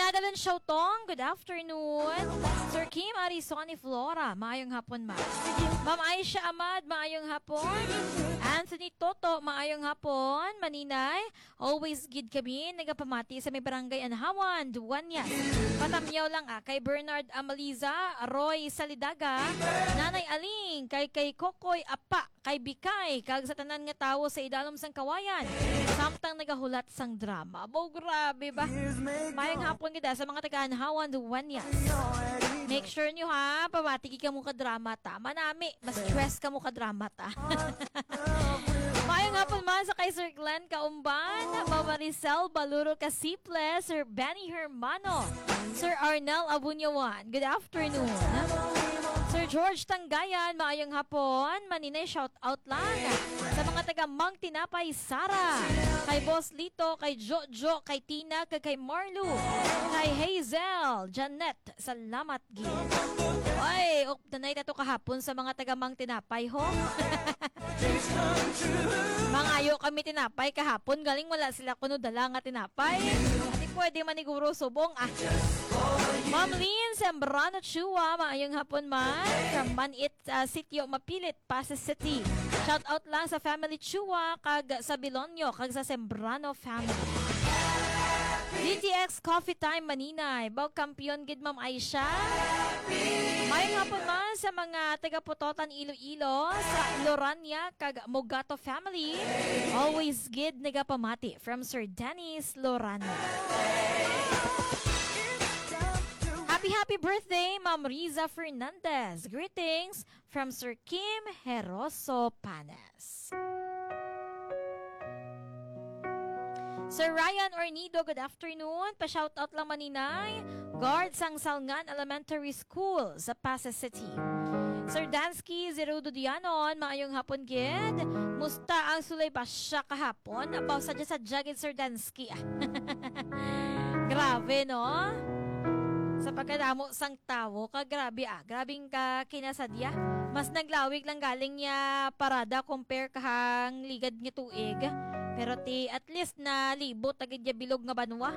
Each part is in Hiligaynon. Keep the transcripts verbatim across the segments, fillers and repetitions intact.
Madalon Shautong, good afternoon. Sir Kim Arisoni Flora, maayong hapon, ma'am. Ma'am Aisha Ahmad, maayong hapon. Anthony Toto, maayong hapon. Maninay, always gid kami nagapamati sa may barangay Anhawan, Duanyas. Patamyaw lang, ah, kay Bernard Amaliza, Roy Salidaga, Nanay Aling, kay, kay Kokoy Apa, kay Bikay, kag sa tanan nga tawo sa idalom sang kawayan, samtang nagahulat sang drama. Abo, grabe ba? Mayang hapon gid, ah, sa mga taga Anhawan, Duanyas. Make sure nyo, ha, pabati gid kamo ka drama ta. Manami, mas stress kamo ka drama ta. Mayang hapon man sa kay Sir Glenn Kaumban, Mama Maricel Baluro Casiple, Sir Benny Hermano, Sir Arnel Abunyawan. Good afternoon. Sir George Tanggayan, maayong hapon. Maninay, shout out lang sa mga taga Mang Tinapay, Sara, kay Boss Lito, kay Jojo, kay Tina, kag kay Marlu, kay Hazel, Janet. Salamat gid. Oy, updanay ta to kahapon sa mga taga Mang Tinapay, ho. Mangayo kami tinapay kahapon, galing wala sila kuno dala nga tinapay. Di pwede maniguro subong, ah. Ma'am Lynn Sembrano Chua, maayong hapon, ma'am. From Manit, ah, Sitio Mapilit, Pasay City. Shout out lang sa family Chua, kag sa Bilonyo, kag sa Sembrano family. D T X Coffee Time, Maninay. Baw kampiyon gid, Ma'am Aisha. Mayong hapon man sa mga taga Pototan, Iloilo, sa Lorania, kag Mogato family. Always gid nagapamati from Sir Dennis Lorania. Happy, happy birthday, Ma'am Riza Fernandez. Greetings from Sir Kim Heroso Panes. Sir Ryan Ornido, good afternoon. Pa-shoutout lang, Maninay. Guard sang Salngan Elementary School sa Pasay City. Sir Dansky Zerudo Dianon, maayong hapon gid. Musta ang sulay basya kahapon? Abaw, sadya-sadya gid, Sir Dansky, ah. Grabe, no? Sa pagkadamo sang tawo, ka grabe, ah. Grabing ka kinasadya. Mas naglawig lang galing niya parada compare kahang ligad nga tuig. Pero ti, at least nalibot agad niya bilog nga banwa.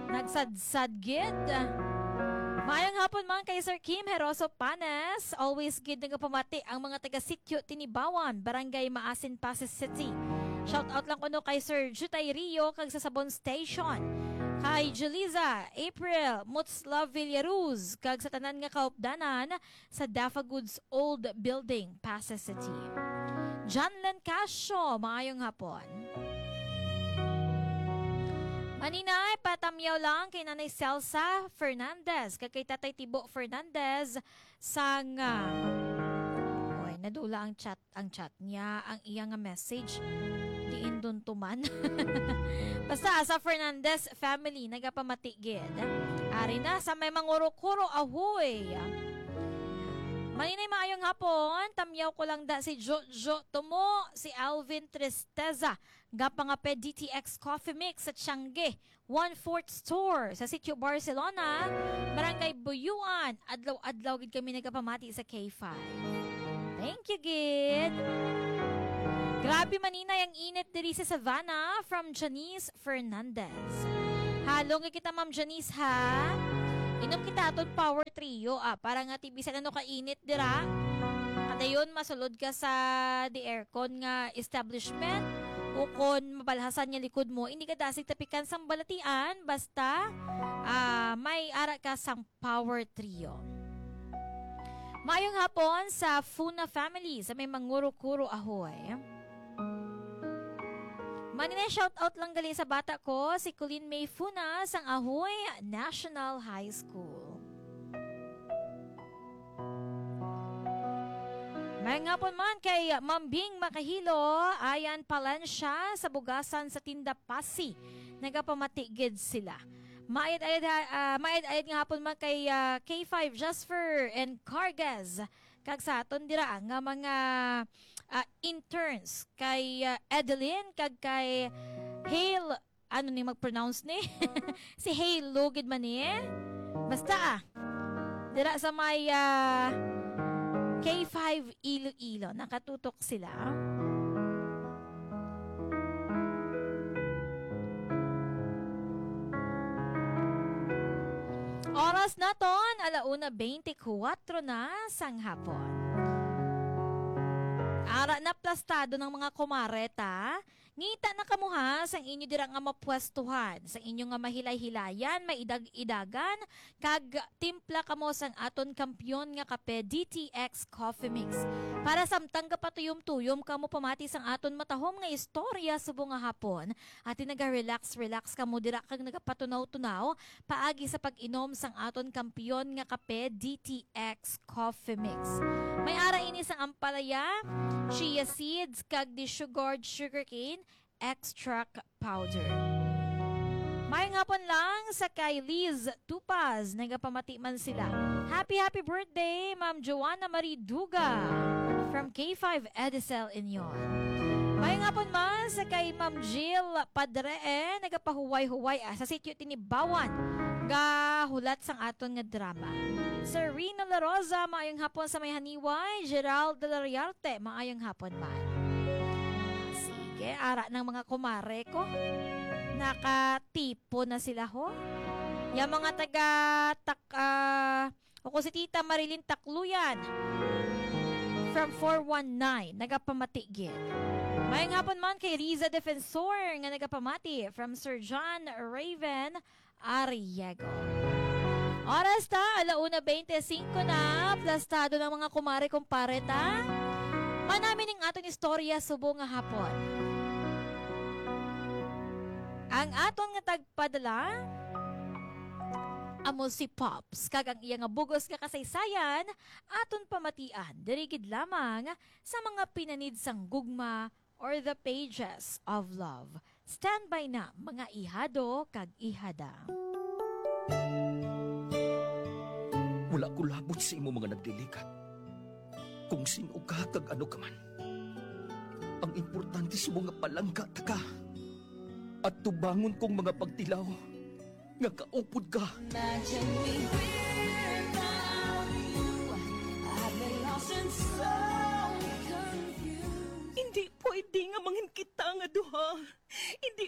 Nagsadsad gid. Maayong hapon man kay Sir Kim Heroso Panes. Always gid nagapamati ang mga taga Sitio Tinibawan, Barangay Maasin, Pasay City. Shout out lang kuno kay Sir Jutay Rio kag sa Sabon Station. Kay Juliza, April, Muts Love Villaruz, kag sa tanan nga kaupdanan sa Dafa Goods Old Building, Pasay City. Janlen Casio, maayong hapon. Maninay, patamyaw lang kay Nanay Celsa Fernandez, kag kay Tatay Tibo Fernandez sang, ah, oy, nadula ang chat, ang chat niya, ang iya nga message. Diin dun tuman. Basta, ah, sa Fernandez family, nagapamati gid. Ari na, sa may mangurukuro, ahoy. Maninay, maayong hapon. Tamyaw ko lang da si Jojo Tumo, si Alvin Tristeza, gapangape D T X Coffee Mix sa Tiangge, One Fourth Store, sa Sitio Barcelona, Barangay Buyuan. Adlaw-adlaw gid kami nagapamati sa K five. Thank you, gid. Grabe, Maninay, ang init diri sa Savannah, from Janice Fernandez. Halong kita, Ma'am Janice, ha? Inom kita aton Power Trio, ah, para nga ti bisan ano kainit dira. Kadayon, masulod ka sa di aircon nga establishment, o kon mabalhasan nga likod mo, hindi ka dasig tapikan sang balatian, basta, ah, may ara ka sang Power Trio. Mayong hapon sa Funa family sa may Manguro-Kuro, Ahoy. Manina, shout out lang gali sa bata ko, si Colleen May Funa sang Ahoy National High School. Mayong hapon man kay Ma'am Bing Makahilo, Ayan Palencia sa Bugasan sa Tinda Pasi. Nagapamati gid sila. Maayad-ayad ha-, ah, maayad-ayad nga hapon man kay, ah, K five Jasper and Cargas. Kag sa aton dira nga mga, ah, interns kay, ah, Edeline kag kay Hale, ano ni mag-pronounce ni? Si Halo gid man ni. Basta, ah, dira sa may, ah, K five Iloilo, nakatutok sila. Oras naton, ala una beintikwatro na sang hapon. Ara na plastado ng mga kumare ta. Ngita na kamo ha, sang inyo dira nga mapwestuhan, sang inyo nga mahilay-hilayan, maidag-idagan, kag timpla kamo sang aton kampiyon nga kape D T X Coffee Mix. Para samtang gapatuyom-tuyom kamo pamati sang aton matahom nga istorya subong nga hapon, ati naga-relax-relax kamo dira kag nagapatunaw-tunaw paagi sa pag-inom sang aton kampiyon nga kape D T X Coffee Mix. May ara ini sang ampalaya, chia seeds, kag desugared sugarcane extract powder. May nga pon lang sa kay Liz Tupaz, nagapamati man sila. Happy, happy birthday, Ma'am Joanna Marie Duga, from K five Edicel Union. May nga pon man sa kay Ma'am Jill Padre, eh, nagapahuway-huway, ah, sa sitio Tinibawan, nga hulat sang aton nga drama. Serena La Rosa, maayong hapon sa may haniway. Gerald Delariarte, maayong hapon man. Sige, ara ng mga kumare ko. Nakatipo na sila, ho. Yung mga taga Tak-, ah, o ko si Tita Marilyn Takluyan from four one nine, nagapamati gid. May nga pon man kay Riza Defensor nga nagapamati from Sir John Raven Arriego. Oras ta, ala una beintisinko na, plastado ng mga kumare kumpare ta. Manami ning aton istorya subong nga hapon. Ang aton nga tagpadala, amo si Pops, kag ang iya nga bugos nga kasaysayan, aton pamatian, diri gid lamang sa mga pinanid sang gugma or the pages of love. Standby na, mga ihado kag ihada. Wala ko labot sa imo mga nagliligat. Kung sin-o ka kag ano ka man. Ang importante sa mga palangga ta ka. At tubangon kong mga pagtilaw nga kaupod ka. Imagine me without you. I've been lost and so confused. Hindi pwede nga mangin kita nga duha. Hindi